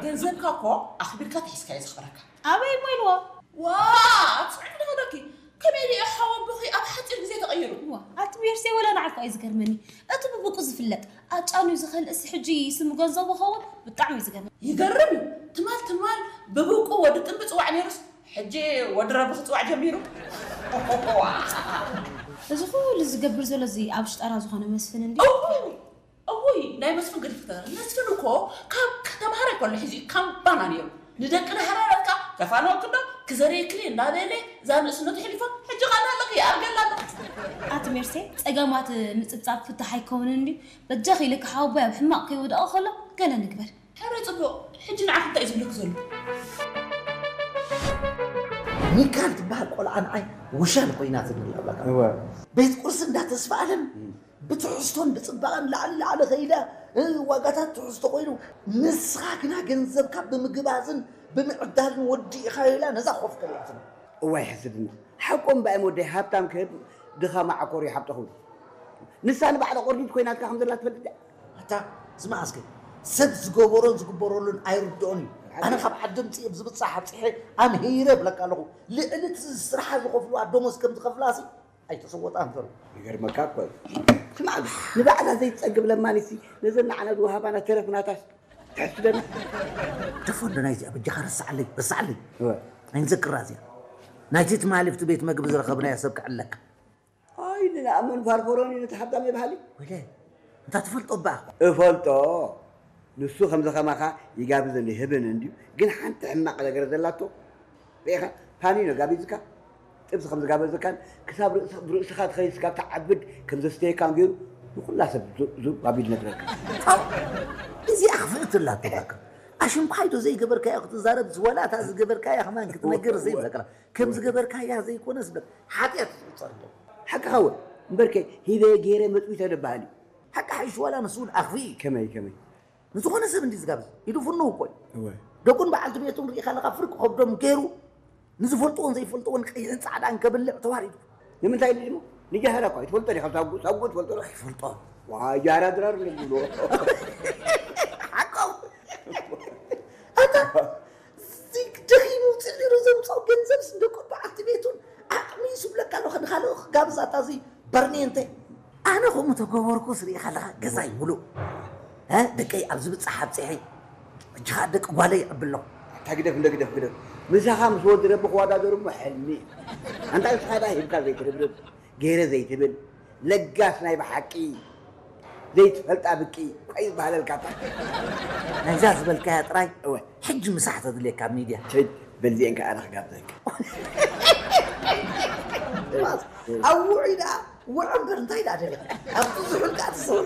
ገንዘብካ እኮ ኣኽቢርካ ተሒዝካዮ ዘኽብረካ። ኣበይ እሞ ኢልዎ? ዋ ጽዑቕ ዶ ኾነኪ? ከመይ ኢሉ እዩ ሓወቦኺ ኣብ ሓፂር ግዜ ተቐይሩ? ዋ ኣቲ ሜርሴ ወላ ንዓካ እዩ ዝገርመኒ። እቲ ብብቁ ዝፍለጥ ኣጫንዩ ዝኽእል እሲ ሕጂ ስሙ ገንዘቡ ኸውን ብጣዕሚ እዩ ዝገርመኒ። ይገርም እዩ። ትማል ትማል ብብቁ ወዲ ጥንቢ ፅዋዕ ነይሩስ ሕጂ ወዲ ረቢ ክፅዋዕ ጀሚሩ። እዚ ኩሉ ዝገብር ዘሎ እዚ ኣብ ሽጠራ ዝኾነ መስፍን እንዲ እውይ ናይ መስፍን ገዲፍኪ ተዛረቢ። መስፍን እኮ ካብ ተምሃሮ ከሎ ሒዙ እዩ ካምባና ነይሩ። ንደቂ ዳሕራረትካ ከፋንወኪ ዶ ክዘርየክን እየ እንዳበለ እዛ ንእስነቱ ሕሊፎ ሕጂ ኸኣ ኣለኺ ይኣርገላ ኣሎ። ኣቲ ሜርሴ ጸገማት ምጽብጻብ ፍታሕ ኣይከውንን እንድዩ። በጃኺ ኢልኪ ሓወቦይ ኣብ ሕማቕ ከይወድቐ ከሎ ገለ ንግበር። ሕረ ጽቡቕ ሕጂ ንዓኺ እንታይ እዩ ዝብለኪ ዘሎ? ሚካል ትበሃል ቆልዓ ንዓይ ውሻል ኮይናትኒ ኣላ። እወ። ቤት ቁርሲ እንዳተስፋ ኣለም ብትሕዝቶን ብፅባቐን ላዕሊ ላዕሊ ከይዳ፣ እ፣ ዋጋታት ትሕዝቶ ኮይኑ፣ ንስኻ ግና ገንዘብካ ብምግባዝን ብምዕዳልን ወዲእኻዮ ኢላ ነዛ ኮፍ ከሊኣትና። እዋይ ሕስድና። ሓቆም ባእም ወደይ ሃብታም ክህብ ድኻ ማዓኮር ይሓብጠኹም። ንሳ ንባዕላ ቆርዲት ኮይናትካ ከም ዘላ ትፈልጥ ድያ? ኣታ ዝመዓስከ ሰብ ዝገበሮን ዝግበረሉን ኣይርድኦን እዩ። ኣነ ካብ ዓዲ ምፅእ ብዝብፃሕ ኣብፅሐ ኣምሂረ ብለካ ኣለኹ። ልዕሊ እቲ ስርሓ ዝኸፍልዋ ደሞዝ ከም ዝኸፍላ ሲ ኣይተሰወጣን ዘሎ። ይገርመካ እኮ እዩ። ስማዕ፣ ንባዕላ ዘይትጸግብ ለማኒሲ ነዘን ንዓና ዝወሃባና ተረፍ ናታስ ትሕስደና። ደፎ እንዶ ናይዚኣ በጃኻ ረስዓለይ፣ ረስዓለይ። እወ። ኣይንዘክራ እዚኣ። ናይቲ ትማሊ ኣብቲ ቤት መግቢ ዝረኸብናዮ ሰብ ክዕለካ። ኣይ ንኣምን ፋርፈሮን እዩ ነቲ ሓብታም የብሃሊ። ወይለ፣ እንታ ትፈልጦ እባ። እፈልጦ። ንሱ ከምዚ ከማኻ ይጋብዝን ይህብን እንድዩ፣ ግን ሓንቲ ሕማቕ ነገር ዘላቶ ርኢኻ፣ ፓኒኖ ጋቢዝካ ጥብሲ ከም ዝጋበዘካን ክሳብ ርእስ- ብርእስኻ ትኸይድ ስጋብ ትዓብድ ከም ዘስተየካን ገይሩ ንኹላ ሰብ ዙ- ዙ ባቢል ነግረካ። ኣው፣ እዚኣ ክፍእቲ ኣላቶ በቃ። ኣሽንኳይዶ ዘይገበርካዮ ክትዛረብ ዝወላታ ዝገበርካያ ከማን ክትነግር ዘይበቃ ከም ዝገበርካያ ዘይኮነስ በቃ ሓጢኣት ዝቁጸር ኣሎ። ሓቅኻ እውን እምበርከ ሂበ ገይረ መጥዊተ ደበሃል እዩ። ሓቂ ሓይሽ ዋላ ንሱ እውን ኣኽፊ እዩ። ከመይ ከመይ ንዝኾነ ሰብ እንዲ ዝጋብዝ ኢዱ ፍንው እኮ እዩ። እወ። ደቁን በዓልቲ ቤቱን ርኢኻ ኣለኻ ፍርቂ ከብዶም ገይሩ ንዝፈልጥዎን ዘይፈልጥዎን ቀይሕን ፃዕዳን ከብልዕ ተዋሪዱ። ንምንታይ ኢሉ ድሞ ንጃህራ እኳ ይትፈልጦ ዲኻ ሳጉ ሳጉ ትፈልጦ ዶ ኣይፈልጦ። ዋ ጃህራ ድራር ዝብሎ ሓቆም ኣታ ደኺሙ ውፅእ ነይሩ ዘምፅኦ ገንዘብ ደቁን በዓልቲ ቤቱን ዓቕሚ ይስብለካ ኣሎ ከድኻልኦ ክጋብዛታ እዚ በርኔንተ ኣነ ከምኡ ተገበርኩ ስሪኢኻ ኣለኻ ገዛይ ሙሉእ እ ደቀይ ኣብ ዝብፃሕ ኣብፅሐ እጅኻ ደቂ ጓለይ ኣብሎ ኣታ ግደፍ እንደ ግደፍ ግደፍ ምሳኻ ምስ ወዲ ረቢ ክወዳደሩ እሞ ሕልሚ እዩ ኣንታ ንስኻ ዳ ሂብካ ዘይትርብርብ ገይረ ዘይትብል ለጋስ ናይ ብሓቂ ዘይትፈልጣ ብቂ ቆይ ዝበሃለልካ እታ ናይዛ ዝበልካያ ጥራይ እወ ሕጂ ምሳሕ ተድልየካ ኣብ ሚድያ ሸድ በልዚኤን ከዓ ኣነ ክጋብዘካ ኣብ ውዑይ ደኣ ውዑ እምበር እንታይ ደኣ ደሊኻ ኣብቲ ዝሑል ከዓ ትሰውር